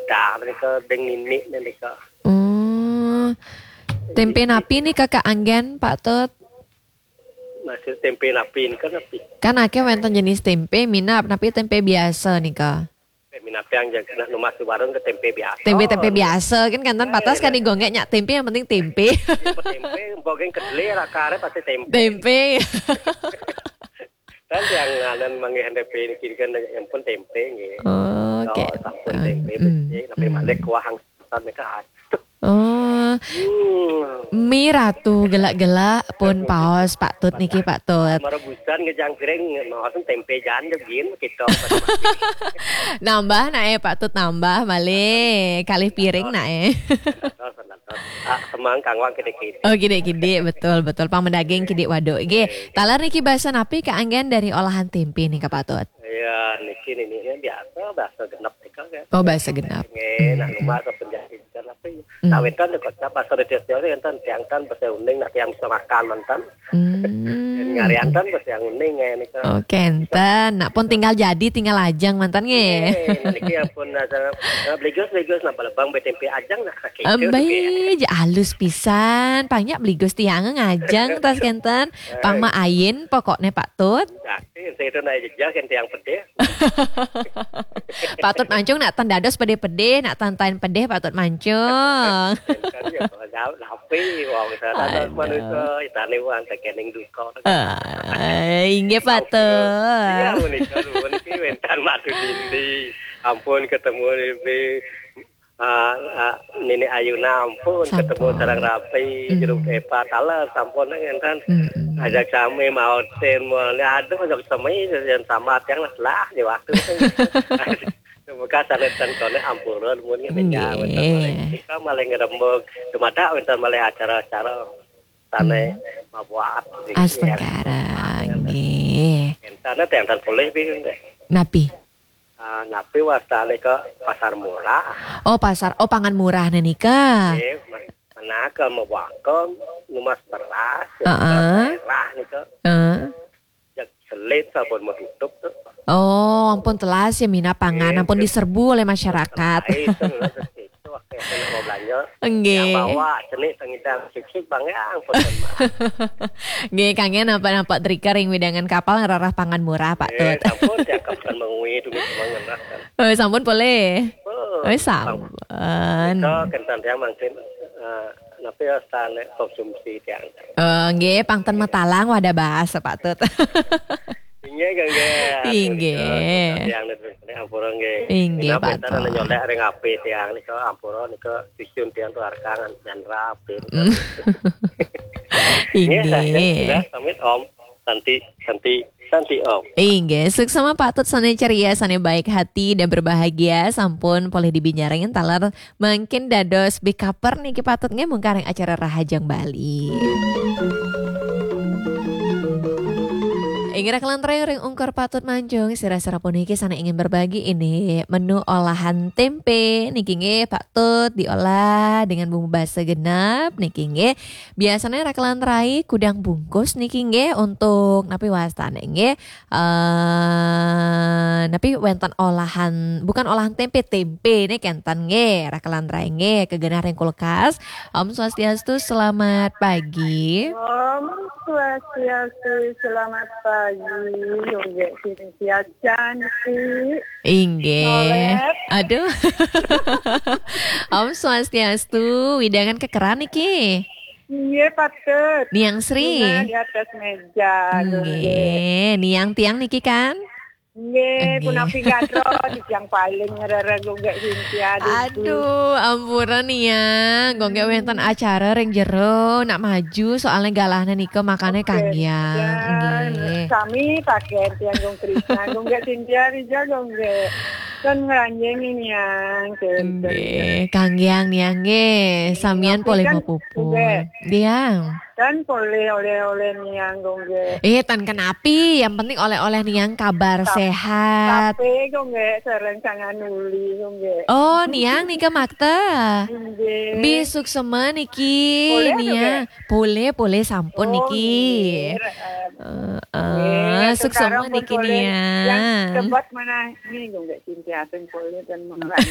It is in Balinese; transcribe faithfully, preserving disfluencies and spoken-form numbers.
Dah, nika deng nini nika. Oh. Tempe napi nika kaanggén, Pak Tut? Masih tempe napi nika napi? Kan akéh wénten jenis tempe, minab, napi tempe biasa nika? Tempe minab yang jaga nak nu masih warung ke tempe biasa. Tempe-tempe biasa kan, kan tan patas kan digongge nyak tempe, yang penting tempe. Tempe, bogeng kedele, rakare pasti tempe. Tempe. Kan yang nganan manggih tempe niki kan yang pun tempe nggih. Oh, oke. Sampun tempe becik, tapi malih kuah hangsan nika. Oh. Hmm. Mi ratu gelak-gelak pun paos Pak Tut niki, Pak Tut. Merebusan ngejang piring, maos tempe jan gin kita. Nambah nae, Pak Tut, nambah malih kalih piring nae. Ah, semang kangwang kidik-kidik. Oh, kidik-kidik, betul, betul. Pang medaging kidik waduk. Nggih, taler niki basa napi kaanggén dari olahan tempe nika, Pak Tut? Ya, niki nini biasa, basa genep nika kan. Oh, basa genep. Nggih, nak rumah ke penjahit kan apa ya? Nah, wénten kok basa desa wénten tiang tan basa uning nak tiang bisa makan mantan. Hmm. Ngarian tan basa yang uning ya nika. Oh, kenten. Nak pun tinggal jadi, tinggal ajang mantan nggih. Nggih, niki ampun ada, eh, beligus, beligus, napa lebang betempe ajang nak sakit. Embai, ja alus pisan, pangnya beligus tiang ngajang tas kenten. Pang ma ayin pokoknya Pak Tut. Nah, itu naik jejak kan tiang pedih. Pak Tut Mancung nak tan dados pedih-pedih, nak tan tain pedih Pak Tut Mancung. Kan ya, kalau jauh, tapi wong kita ada manusia, kita ni wong tekening duka. Eh, inggih, Pak Tut. Iya, menikah dulu, niki wénten madu dindi. Ampun ketemu di, ah, ah, Nini Ayuna, ampun ketemu sareng rapi, jeruk epa, taler, sampun ngenten. Ajak sami maotin, mulai aduh, ajak sami, yang sama tiang lah, lah, di waktu itu. Bekas sanetan koné ampura mun ngene ya, wénten malih. Kita malih ngrembug, dumadak wénten malih acara-acara sané mabuat. Astungkara, nggih. Entana téh enten polih pi nggih. Napi? Ah, napi wastané ke pasar murah? Oh, pasar, oh, pangan murah nika. Nggih, menawa ke mabuat numas beras, heeh, merah nika. Heeh. Jak selit sampun mau tutup tuh. Oh, ampun telas ya mina pangan, ampun diserbu oleh masyarakat. Itu, itu waktu yang mau belanja. Nggih. Yang bawa cenik tengidang sik-sik Bang ya, ampun. Nggih, kangen apa nampak drika ring widangan kapal ngerarah pangan murah, Pak Tut. Sampun cakep kan mengui dulu cuma ngenah kan. Oh, sampun boleh. Oh, sampun. Itu kenten yang mungkin, eh, napi ya, sané konsumsi tiang. Oh, nggih, pang ten matalang wadah bahasa Pak Tut. Inggih, nggih. Inggih. Tiang niku ampura nggih. Inggih, Pak Tut. Nyolek ring api tiang niku ampura niku susun tiang tuh arkangan dan rapi. Inggih. Sudah, pamit Om. Santi, Santi, Santi Om. Inggih, suksma Pak Tut sané ceria, sané baik hati dan berbahagia, sampun polih dibinjarengin taler mangkin dados bikaper niki Pak Tut nggih mungkaring acara Rahajeng Bali. Inggih rakelan ring ungkur Pak Tut Mancung, sira-sira puniki sané ingin berbagi ini menu olahan tempe niki nggih Pak Tut diolah dengan bumbu basa genep niki nggih. Biasanya rakelan rai kudang bungkus niki nggih untuk napi wastane nggih. Eh, napi wénten olahan, bukan olahan tempe, tempe niki kenten nggih, rakelan rai nggih, kegenah ring kulkas. Om Swastiastu, selamat pagi. Om Swastiastu, selamat pagi. Nggih, sini siacan sih. Inggih. Aduh. Om Swastiastu, widangan kekeran niki. Nggih, patut. Niang Sri. Bunga di atas meja. Nggih, niang tiang niki kan? Nggih, punapi gadro di tiang paling ngerere gonggek Cynthia. Aduh, ampura niang. Gonggek wénten acara ring jero nak maju soalnya galahnya nika makanya kanggiang. Nggih. Sami pakai tiang gong Krisna, gonggek Cynthia Rija gonggek. Kan ngranjing niang. Nggih, kanggiang niang nggih. Samian polih kan mapupul. Diang. Dan polih oleh-oleh niang gonggek. Eh, tan kenapi, yang penting oleh-oleh niang kabar sehat. Tapi gonggek sareng sangan uli gonggek. Oh, niang nika makta. Nggih. Bi suksma niki niang. Polih, polih sampun niki. Heeh, suksma niki niang. Yang tebas mana ini gonggek Cynthia polih dan mengalami.